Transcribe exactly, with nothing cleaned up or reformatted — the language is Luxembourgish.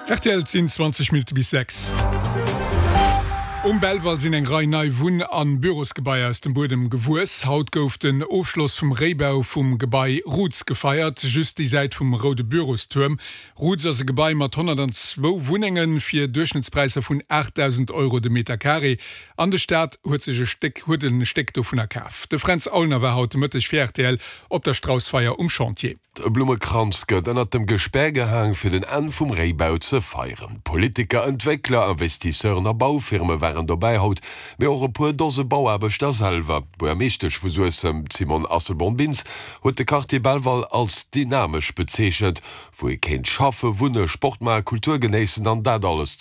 R T L sinn zwanzeg Minutte bis sechs. Um Belval sinn eng Rei nei Wunn an Bürosgebaier aus dem Buedem gewuess. Haut gouf den Ofschloss vum Réibau vum Gebai Roots gefeiert, just déi Säit vum roude Bürostuerm. Roots ass e Gebai mat honnertzwou Wunnenge fir Duerchschnëttspräisser vun aachtdausend Euro de Meter Carré. An de Staat huet sech e Stéck huet e Stéck dovunner kaf. De Fränz Aulner war haut de Mëtteg fir R T L op der Straussfeier um Chantier. E Blummekranz gëtt ënnert dem Gespär gehaang fir den Enn vum Réibau ze feieren. Politiker, Entwéckler, Investisseuren a Baufirme waren dobäi haut, mee och e puer Dose Bauaarbechter selwer. D'Buergermeeschtesch vu Suessem, d'Simone Asselborn-Bintz, huet de Quartier Belval als dynamesch bezeechent, wou ee kéint schaffe, wunne, Sport maachen, Kultur genéissen an dat alles.